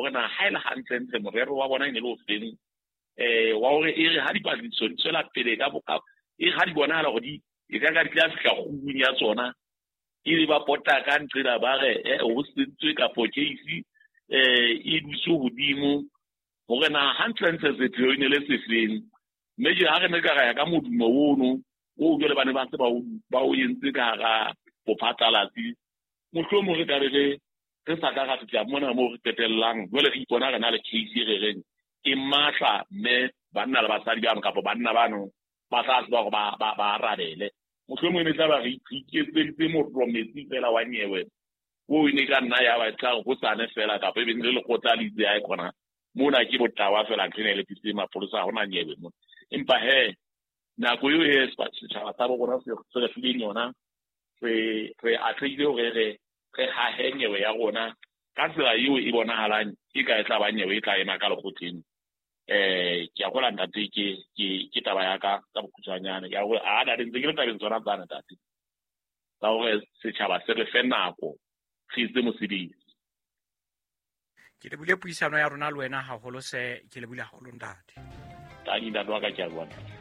Hore na ha e le hantlentle morero wa bona e ne le ofeng, wa hore e re ha dipatlisiso di tswela pele ka boka, e re ha di bonahala hore di e ka ka di tla fihla kgubung ya tsona, e be ba pota ka nqela ba re ho sentswe kapo case e dutse hodimo, hore na hantlentle sepheo e ne le sefeng. Mme je ha re ne ka ra ya ka modumo ono o jwale ba ne ba se ba o entse ka hara bophatlalatsi, mohlomong re ka be re sa ka ra fihla mona moo re qetellang jwale re ipona re na le case e re reng e matla, mme banna le basadi bano kapa banna bano ba tla tseba hore ba arabele. Mohlomong e ne tla ba re iketseditse morlo metsi fela wa nyewe o e ne ka nna ya ba tla hosane fela, kapa e be le lekgotla le itse ae khona mona ke botawa fela, ntho ena e lepisitse mapolesa, ha hona nyewe mona. Empa he nako eo e setjhaba sa bo rona se re fileng yona, re atlehile hore re hahe nyewe ya rona ka tsela eo e bonahalang e ka e tla ba nyewe e tla ema ka lekgotleng. Ke a kgolwa ntate, ke taba ya ka ka bokhutshwanyane ya hore a ntate ntse ke le tabeng tsona tsane ntate, tsa hore setjhaba se re fe nako re etse mosebetsi. Ke lebile puisano ya rona le wena haholo se, ke lebile haholo ntate. Tanki ntate wa ka, ke a bua ntate.